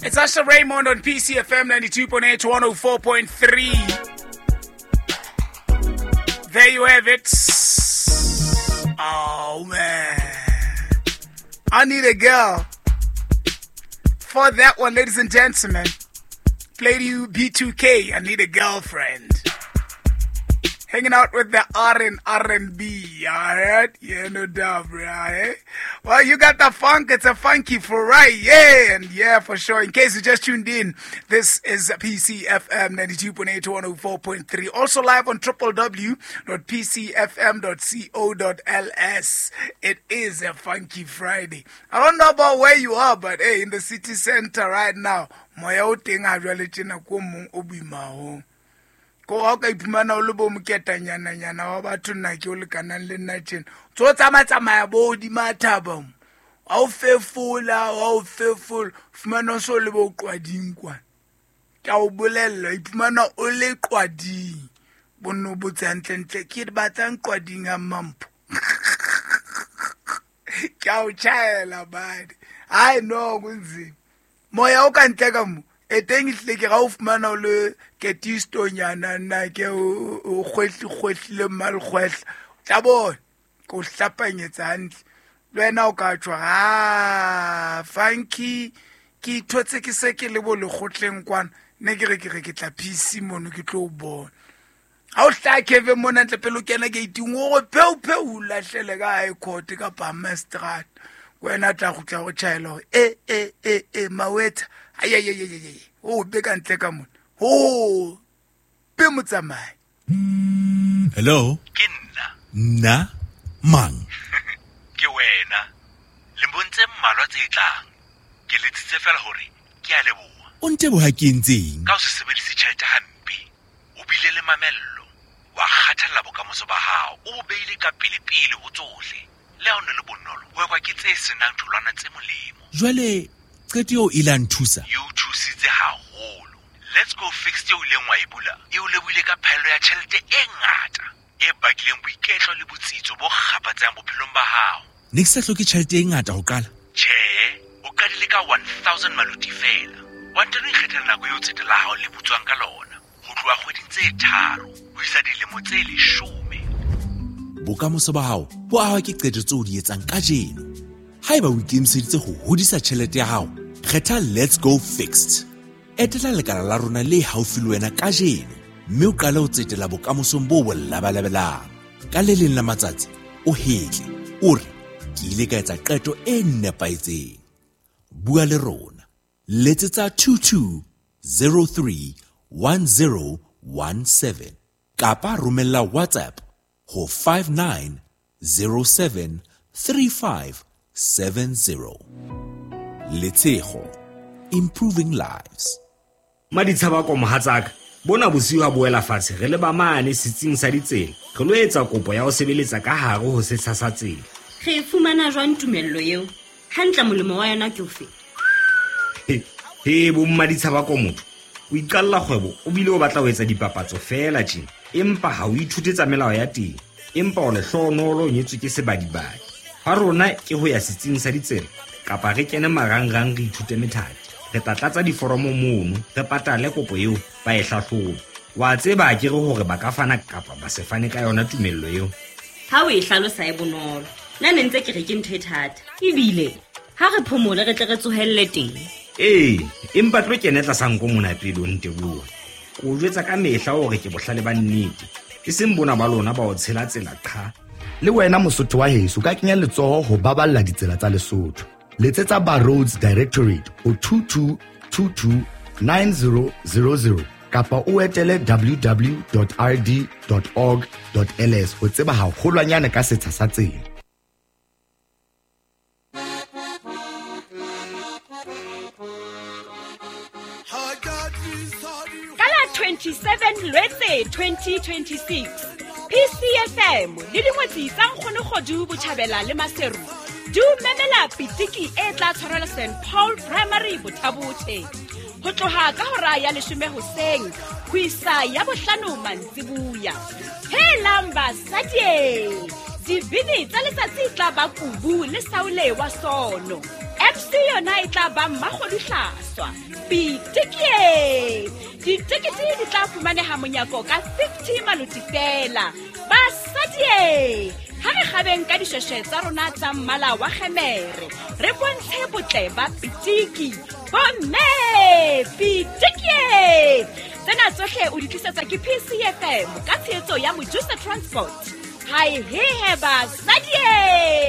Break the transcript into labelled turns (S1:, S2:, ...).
S1: It's Usher Raymond on PCFM 92.8 104.3. There you have it. Oh man. I need a girl. For that one, ladies and gentlemen, played you B2K. I need a girlfriend. Hanging out with the R and R&B, all right? Yeah, no doubt, bro. Eh? Well, you got the funk. It's a funky for right, yeah, and yeah, for sure. In case you just tuned in, this is PCFM 92.8 104.3. Also live on www.pcfm.co.ls. It is a funky Friday. I don't know about where you are, but hey, in the city center right now, moya o teng ha jwale tjena ko mong o boima haholo. Ko ha o ka iphumana o le bo moketanyana-nyana wa batho nna ke o lekanang le nna tjena. Tso tsamaya bo hodima thaba mo. Ha o fefola, ha o fefola, fumana o so le bo qwading kwana. Ke a o bolella, iphumana o le qwading. Bonno botse hantlentle, ke batlang qwading ha Mampho. Ke a o tjhaela badi. Hai no kunzima. Moya o ka ntle ka mo. E teng ehlile ke ga o fumana o le ketistonyana nna ke o kgwehle mmalekgwehla. O tla bona, ke o hlapanyetsa hantle. Le wena o ka tjho, ha funky ke ithotse ke se ke le bo lekgotleng kwana. Ne ke re ke re ke tla PC mono ke tlo o bona. Ha o hlaha Kevin mona ntle pele o kena gate-ing, o re pheu pheu o lahlele ka high court kapa magistrate. Wena tla kgutla go tjhaela hore e e e e mawetha. Ay ay ay ay ay. O be ka ntle ka mona. Ho be motsamai.
S2: Hello?
S3: Ke nna.
S2: Nna mang?
S3: Ke wena. Lemong tse mmalwa tse tlang. Ke letsitse fela hore ke a leboha.
S2: O nteboha ke entseng?
S3: Ka ho se sebedise tjhelete hampe. O bile le mamello. Wa kgathalla bokamoso ba hao. O bo beile ka pele-pele ho tsohle. Le ha o ne le bonolo, ho ekwa ke tse senang tholwana tse molemo.
S2: Jwale qeto eo e la nthusa?
S3: E o thusitse haholo. Let's go fix eo ileng wa e bula, e o lebohile ka phaello ya tjhelete e ngata e bakileng boiketlo le botsitso bo kgaphatsehang bophelong ba hao.
S2: Ne ke sa hloke tjhelete e ngata ho qala?
S3: Tjhe, o qadile ka 1000 maluti fela. Wa ntano ikgethela nako eo tsete la hao le butswang ka lona, ho tloha kgweding tse 3 ho isa dilemo tse 10.
S2: Bokamoso ba hao bo ahwa ke qeto tseo o di etsang kajeno. Haeba o ikemiseditse ho hodisa tjhelete ya hao, kgetha Let's Go Fixed. Etela lekala la rona le haufi le wena kajeno, mme o qale ho tsetela bokamosong bo bo labalabelang. Ka le leng la matsatsi, o hetle, o re, ke ile ka etsa qeto e nepahetseng. Bua le rona. Letsetsa 2203 1017 kapa romella WhatsApp ho 5907 3570. Letshego, improving lives.
S4: Maditshaba ko mohatsaka, bona bosiu ha boela fatshe re le ba mane setsing sa ditsela. Re lo etsa kopo ya ho sebeletsa ka hare ho setsha sa tsela.
S5: Re fumana jwang tumello eo? Hantle molemo wa yona ke ofe?
S4: He bo mmaditshaba ko motho. O iqalla kgwebo o bile o batla ho etsa dipapatso fela tjena, empa ha o ithute tsa melao ya teng. Empa o lehlohonolo o nyetswe ke sebadibadi. Ha rona ke ho ya setsing sa ditsela kapa re kene marangrang re ithute methati. Re tla tlatsa diforomo mono, re patale kopo eo ba e hlahlobe. Wa tseba ke re hore ba ka fana kapa ba se fane ka yona tumello eo.
S5: Ha o e hlalosa e bonolo. Nna ne ntse ke re ke ntho e thata. Ebile ha re phomole re tle re tsohelle teng.
S4: Ee, empa tlo kene tlasa nko mona pele o nteboha. Ke o jwetsa ka mehla hore ke bohlale ba nnete, e seng bona ba lona ba o tshela tsela qha.
S6: Le wena Mosotho wa heso ka kenya letsoho ho baballa ditsela tsa Lesotho. Letsetsa ba Roads Directorate ho 2222 9000 kapa o etele www.rd.org.ls ho tseba haholwanyane ka setsha sa tsela.
S7: Ka la 27 Lwetse 2026, PCFM le dingwetsi tsa Nkgono Kgodu Botjhabela le Maseru di o memela pitiki e tla tshwarelwa St Paul Primary Bothabothe ho tloha ka hora ya 10 hoseng ho isa ya 5 mantsibuya. Helang basadi, dibini tsa letsatsi tla ba Kubu le Saule wa Sono. MC MC yona e tla ba Mmakgoduhlaswa. Pitikie! Ditekete di tla fumaneha monyako ka 50 maloti fela. Basadie! Ha re kgabeng ka dishweshwe tsa rona tsa mmala wa kgemere, re bontshe botle ba pitiki. Bomme! Pitikie! Tsena tsohle o di tlisetswa ke PCFM ka tshehetso ya Mojusa Transport. Hae hehe basadie!